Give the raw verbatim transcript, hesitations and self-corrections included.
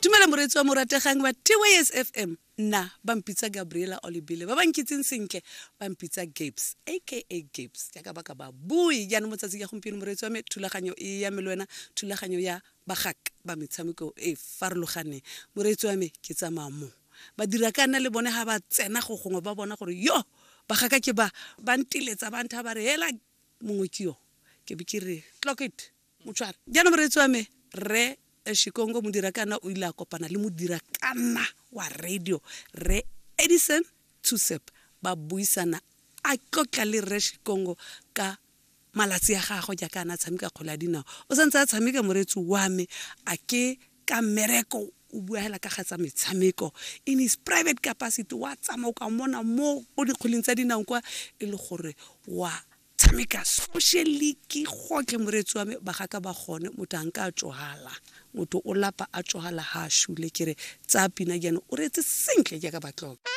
Dumela moreetsi wa morategang wa T Y S F M. Nna ba mpitsa Gabriela Olebile, ba ba nkitseng sentle ba mpitsa Gabes, aka Gabes, jaaka ba ka ba bui. Jaanong mo tsatsing ya gompieno moreetsi wa me, thulaganyo e ya me le wena, thulaganyo ya bagaka ba metshameko e farologaneng. Moreetsi wa me, ke tsamaya mo ba dira ka nna le bone ha ba tsena go gongwe ba bona gore yo bagaka ke ba ba nteletsa ba ntha ba re hela mongwe ke yo, ke be ke re clock it motshware. Jaanong moreetsi wa me, rre Shikongo modirakana o ile a kopana le modirakana wa radio rre Edison Tsoseb, ba buisana a tlotla le rre Shikongo ka malatsi a gagwe jaaka a ne a tshameka kgwele ya dinao. O santse a tshameka moreetsi wa me, a ke ka mmereko o bua hela ka ga tsa metshameko in his private capacity, wa tsamaya o ka mmona mo ko dikgweleng tsa dinao kwa e le gore wa tshameka socially ke gotlhe moreetsi wa me. Bagaka ba gone motho a nka a tsohala, motho o lapa a tsohala ha a shule. Ke re tsaya pina jaanong o reetse sentle jaaka ba tloka.